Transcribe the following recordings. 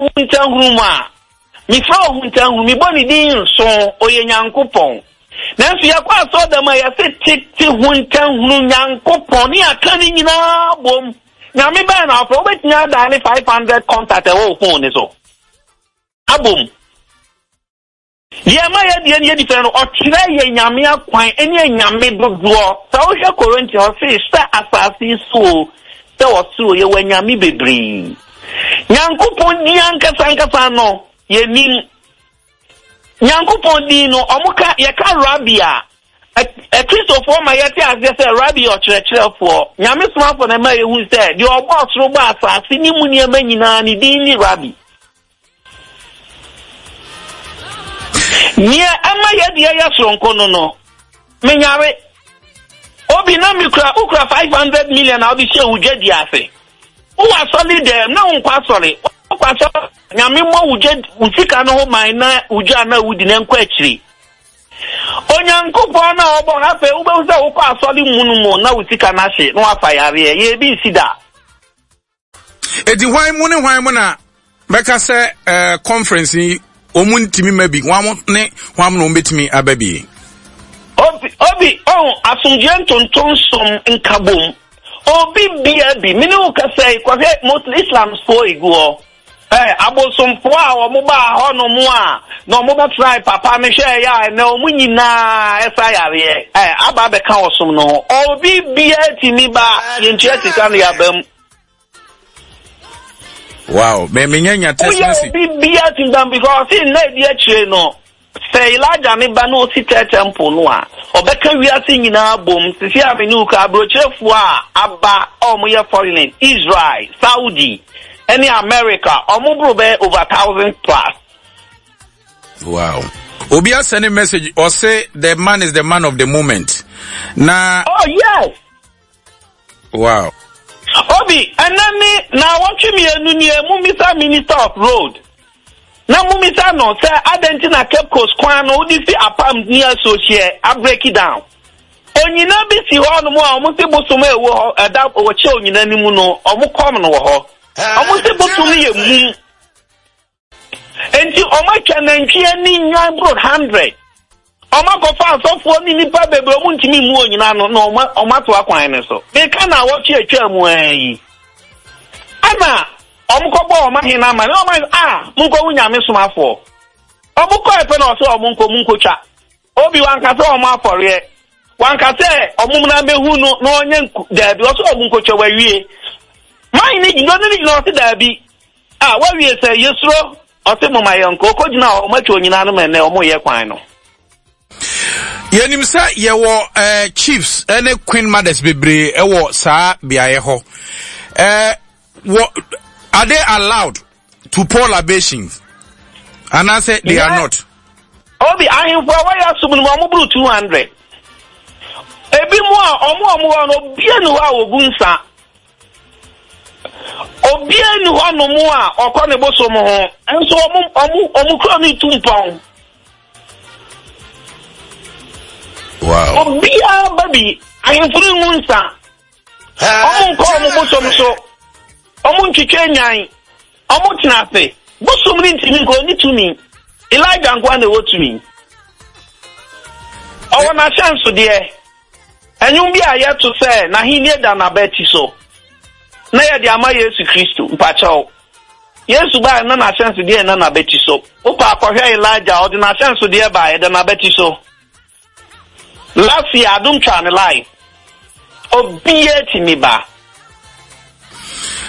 Ohuntahunu mu a, mefrɛ Ohuntahunu, mebɔ ne din nso, ɔyɛ Nyankopɔn. Nanso yɛkɔ asɔrdan mu a, yɛse tete huntahunu Nyankopɔn ne yɛaka ne nyinaa bom. Nyame bɛn na wofrɛ? Wobɛtumi adaale 500 contact ɛwɔ wo phone ne so abom. Deɛ ɛma yɛdeɛ no yɛ different no, ɔkyerɛ yɛn Nyame akwan ne anyame dodoɔ. Sɛ wohwɛ Korinti a, ɔse sɛ asase yi so o, sɛ ɔsoro o, yɛwɔ anyame bebree. Nyankopɔn din ankasa ankasa no, yɛnim. Nyankopɔn din no, ɔmo ka, yɛka Rabbi a, Akristofoɔ ma yɛte aseɛ sɛ Rabbi yɛ ɔkyerɛkyerɛfoɔ. Nyame somafoɔ na ɛma yɛhu sɛ deɛ ɔbɔɔ soro bɔɔ asase ne mu nneɛma nyinaa, ne din ne Rabbi. Nea ɛma yɛ deɛ yɛ soronko no no, menyare. Obi na mekura wokura 500 million a wode hyɛ wo dwadi ase. Wowɔ asɔre dɛm na wonkɔ asɔre. Wokɔ asɔre nyame mmɔ wo dwa wo sika no ho ban na wo dwa na wodi na nkɔ akyiri. Onyankopɔn na ɔbɔ no afei wobɛhu sɛ wokɔ asɔre mu no mu na wo sika no ahye na wafa yareɛ. Yɛ ebi nsi da. Eti hwan mu ne hwan mu na bɛka sɛ ɛɛ conference yi wɔn ntumi ma bi hwan ne hwan mu na wɔn betumi aba bi. Obi obi ɔn asomdwoe ntontom som nkabom obi bia bi mene wo kasa yi kɔhwɛ Muslim Islamfoɔ egu hɔ ɛ abosomfoɔ a wɔn baa hɔ nom a na wɔn bɛtrae papa no hwɛ ɛyɛ a ɛnɛ wɔn nyinaa ɛsa yareɛ ɛ aba abɛka ɔsom no ho obi bia tumi ba yɛntua sika no yɛaba mu. Wow, me me nya nya text message. Woyɛ obi bia tintam because ɔsi nna edi akyire no sɛ Elijah ne ba na osi tɛ temple no a ɔbɛka wiase nyinaa bom sisi a me ne wo ka aburokyerefoɔ a aba a wɔn yɛ foreign Israel, Saudi ɛne America wɔn boro bɛyɛ over thousand plus. Wow. Obi asɛne message ɔse the man is the man of the moment. Na. Oh yes. Wow. Obi, ɛnɛ ne naawɔtwe mmienu nie, mummisa Minister of Road na mummisa no sɛ adɛn nti na Cape Coast kwan no wode fi Apam ne Asuohyeɛ abreki down. Onyina bi si hɔ nom a wɔn se bosom a ɛwɔ hɔ ɛda wɔkyɛ onyina no mu no wɔn kɔm no wɔ hɔ. Wɔn se bosom no yɛ mum. Enti wɔatwa nantwi ani nnwan boro hundred. Wɔakɔfa asɔfoɔ ne nnipa bebree wɔn ntumi mmu onyina ano na wɔato akwan no so. Meka na awɔtwe atwa mu ara yi. Ɛna wɔkɔbɔɔ wɔn ahene no amane. Wɔn ahene a monkɔhu nyame somafoɔ. Wɔkɔɛ pɛ na ɔsɛ wɔn nkɔ monkɔtwa. Obi wanka sɛ wɔn afɔreɛ. Wanka sɛ wɔn mmra mmɛhu no na ɔnyɛ nku daabi. Ɔsɛ wɔn nkɔtwa wawie. Man no gyina ɔne no gyina ɔse daabi. Ah wawie sɛ yɛsuro ɔse moma yɛnkɔ ɔkɔgyina hɔ ɔmo atwa onyina no ma ɛnɛ ɔmo yɛ kwan no. Yɛnim sɛ yɛwɔ eh, chiefs eh, ne queen mothers bebree ɛwɔ eh, saa beaeɛ hɔ. Eh, wɔ, are they allowed to pour libations? Anaasɛ they are not? Obi ahemfo a wɔyɛ asom no mu ɔmo boro 200. Ebi mu a ɔmo a ɔmo hɔ no obia ni hɔ a wɔgu nsa. Obiara nni hɔnom a ɔkɔ ne bosom ho, nso wɔn wɔn wɔn kuro no tu mpɔn. Wow. Obiara ba bi, ahemfo no ngu nsa. Wɔn nkɔ wɔn bosom so. Wɔn ntwitwa nyan. Wɔn tena ase. Bosom no ntumi nkɔ, ɔnni tumi. Elijah nkoa na ɛwɔ tumi. Ɔwɔ n'ahyɛnsodeɛ. Nnwom bi a yɛto sɛ N'ahenni da n'abati so, na yɛde ama Yesu Kristo. Mpakyɛw, Yesu bae na n'ahyɛnsodeɛ nna n'abati so. Wopɛ a kɔhwɛ Elijah, ɔde n'ahyɛnsodeɛ bae, ɛda n'abati so. Last year, adom twaa ne live. Obiara tumi ba.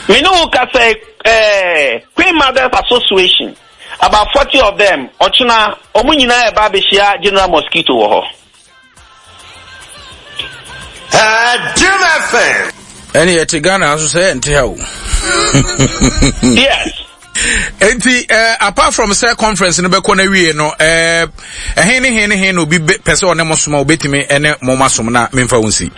Me ne wo kasa yi, eh, Queen Mothers Association, about 40 of them, ɔkyena, wɔn nyinaa ɛba abɛhyia General Mosquito wɔ hɔ. Jim FM. Ɛne yɛte Ghana nso sɛ yɛnte ha o. Yes. Enti uh, apart from sɛ conference no bɛkɔ no awie no ɛhe uh, ne he ne he na obi pɛ sɛ ɔne mo soma obɛtumi ne mo ma som na memfa wo nsi.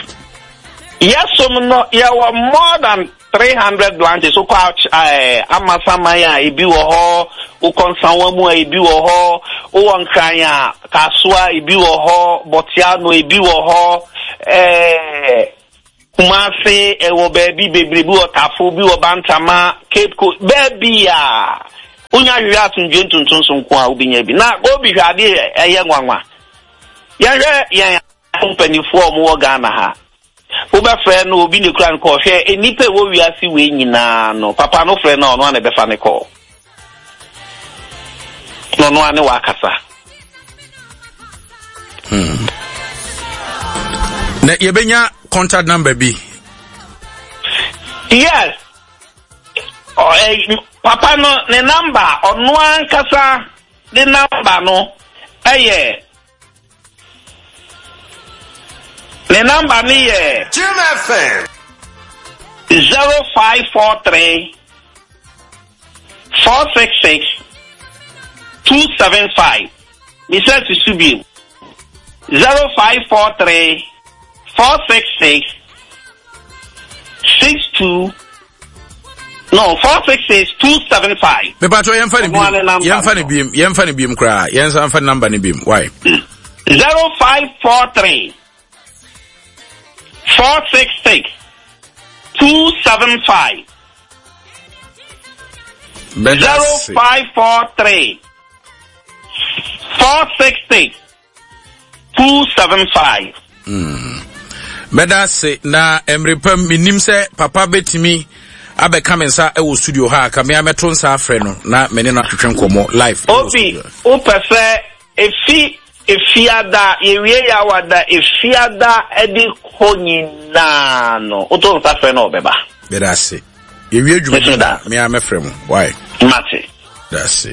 Yɛsom no yɛwɔ more than 300 branches wokɔ eh, Amasaman a ebi wɔ hɔ, wokɔ Nsawa mu a ebi wɔ hɔ, wowɔ Nkran a Kasoa ebi wɔ hɔ, Bɔteano ebi wɔ hɔ, eh, Kumase ɛwɔ baabi bebree bi wɔ Tafo, bi wɔ Bantama, Cape Coast, baabi a. Wonya hwehwɛ asomdwoe ntontonso nko a wobɛnya bi. Na obi hwɛ adeɛ ɛyɛ nwanwa. Yɛhwɛ yɛn mpanimfoɔ a wɔwɔ Ghana ha. Wobɛfrɛ no obi na ekura no kɔɔ. Hwɛ nnipa ɛwɔ wiase wei nyinaa no, papa no frɛ no a ɔno a na ɛbɛfa ne kɔɔ. Na ɔno a ne wakasa. Na yɛbɛnya contact number bi. Yes. Papa no ne number ɔno ankasa ne number no ɛyɛ ne number no yɛ Jim FM 0543 466 275. Misa susu bio. 0543 466 62 no 466 275. Mepatɔ yɛmfa ne biem yɛmfa ne biem yɛmfa ne biem koraa yɛnsa mfa number ne biem why. 0543 466 275. 0543 466 275. Mɛda ase na mmerɛ pam menim sɛ papa bɛtumi abɛka me nsa wɔ studio ha ka me a mɛto nsa afrɛ no na me ne no atwetwe nkɔmmɔ live. Obi wopɛ sɛ efi efiada yɛwie yɛawada efiada de kɔ nyinaa no woto nsa frɛ no ɔbɛba. Mɛda ase. Yɛwie adwuma me a mɛfrɛ mo. Why? Mate. Da ase.